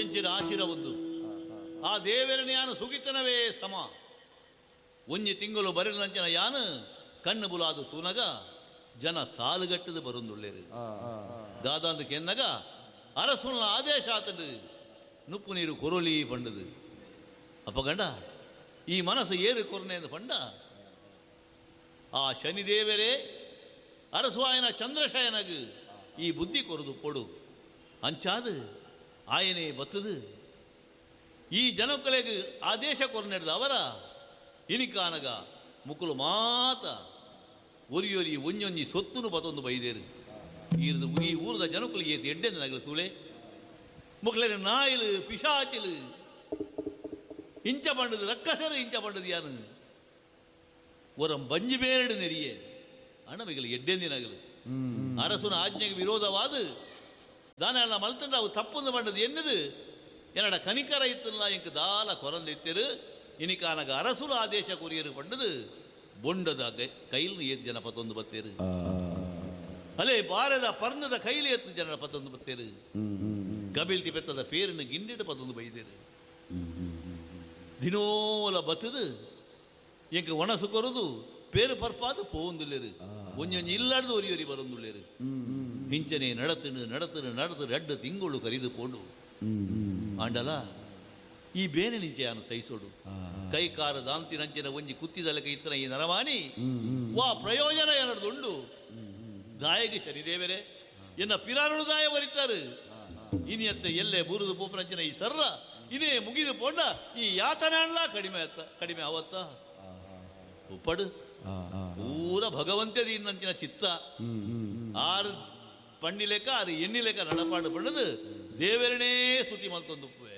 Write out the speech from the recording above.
ಎಂಚಿನ ಆಚಿರ ಒಂದು ಆ ದೇವರನ ಯಾನು ಸುಗಿತನವೇ ಸಮ. ಒಂಜಿ ತಿಂಗಳು ಬರಲಂಚಿನ ಯಾನು ಕಣ್ಣು ಬುಲಾದು ತೂನಗ ಜನ ಸಾಲುಗಟ್ಟದು ಬರುಂದುಳ್ಳೇರು. ದಾದಾಂದು ಕೆನ್ನಗ ಅರಸುನ ಆದೇಶ ಆತಂಡು ನುಪ್ಪು ನೀರು ಕೊರೊಲಿ ಪಂಡದು. ಅಪ್ಪ ಗಂಡ ಈ ಮನಸ್ಸು ಏರು ಕೊರನೆ ಎಂದು ಪಂಡ ಆ ಶನಿದೇವರೇ ಅರಸುವಾಯನ ಚಂದ್ರಶಯನಗು ಈ ಬುದ್ಧಿ ಕೊರದು ಕೊಡು ಅಂಚಾದು ಆಯನೇ ಬತ್ತದು ಈ ಜನಕ್ಕಲೆಗು ಆದೇಶ ಕೊರನೆಡ್ದು ಅವರ ಇನಿಕಾನಗ ಮುಕುಲು ಮಾತ ಒರಿಯೊರಿ ಒಂಜೊಂಜಿ ಸೊತ್ತುನು ಬತ್ತೊಂದು ಬೈದೇರು. ಈರ್ದು ಈ ಊರದ ಜನಕ್ಕಲಿಗೆ ಏತು ಎಡ್ಡೆಂದು ನಗಲು ತೂಳೆ ಮುಕ್ಲೇರು ನಾಯಿಲು ಪಿಶಾಚಿಲು ಇಂಚ ಪಂಡದು ರಕ್ಕಸರು ಇಂಚ ಪಂಡದು ಯಾನು ಒರಂ ಬಂಜಿ ಬೇರಡು ನೆರಿಯೆ ಅಣಮಿಗಲು ಎಡ್ಡೆಂದಿನಗಲು ಅರಸುನ ಆಜ್ಞೆಗೆ ವಿರೋಧವಾದ ದಾನ ಮಲ್ತಂಡ ಅವು ತಪ್ಪೊಂದು ಪಂಡದು ಎನ್ನದು என்னட ಕನಿಕರ ಇತ್ತಲ್ಲ ಎಂಕ್ ದಾಲ ಕೊರಂದಿತ್ತಿರು ಇನಿಕಾನಗ ಅರಸುಲ ಆದೇಶ ಕೊರಿಯರು ಪಂಡದು ಬೊಂಡದ ಕೈಲ್ ಏತ್ ಜನ ಪತ್ತೊಂದು ಬತ್ತೇರು. ಅಲೇ ಬಾರದ ಪರ್ಣದ ಕೈಲಿ ಎತ್ತು ಜನರ ಪತ್ತೊಂದು ಬತ್ತೇರು. ಕಬಿಲ್ತಿ ಪೆತ್ತದ ಪೇರಿನ ಗಿಂಡಿಡು ಪತ್ತೊಂದು ಬೈದೇರು. ದಿನೋಲ ಬತ್ತದು ಎಂಕ್ ಒಣಸು ಕೊರದು ಪೇರು ಪರ್ಪಾದು ಪೋಂದುಲ್ಲೇರು. ಒಂಜೊಂಜಿ ಇಲ್ಲಾಡ್ದು ಒರಿ ಒರಿ ಬರೊಂದುಲ್ಲೇರು. ಇಂಚನೆ ನಡತನು ನಡತನು ನಡತು ರಡ್ಡು ತಿಂಗಳು ಕರಿದು ಪೋಂಡು. ಆಂಡಲ ಈ ಬೇನೆ ನಿಂಚೆ ಯಾನು ಸಹಿಸೋಡು. ಕೈ ಕಾರು ದಾಂತಿ ನಂಚಿನ ಒಂಜಿ ಕುತ್ತಿದಲಕ ಇತ್ತನ ಈ ನರವಾಣಿ ವಾ ಪ್ರಯೋಜನ ಏನದು ದಾಯಗೆ ಶನಿದೇವರೇ ಎನ್ನ ಪಿರಾನುಡು ದಾಯ ಬರಿತಾರೆ. ಇನಿಯತ್ತ ಎಲ್ಲೆ ಬೂರುದು ಪೋಪನಂಚಿನ ಈ ಸರ್ರ ಇನೇ ಮುಗಿದು ಪೋಂಡ ಈ ಯಾತನಾಣ್ಲ ಕಡಿಮೆ ಅತ್ತ ಕಡಿಮೆ ಅವತ್ತ ಉಪ್ಪಡು ಪೂರ ಭಗವಂತದಿ ಇನ್ನಂಚಿನ ಚಿತ್ತ ಆರು ಪಣ್ಣಿಲೆಕ್ಕ ಆರು ಎಣ್ಣಿ ಲೆಕ್ಕ ನಡಪಾಡು ಪಣ್ಣದು ದೇವರನೇ ಸ್ತುತಿ ಮಲ್ತೊಂದುಪ್ಪುವೆ.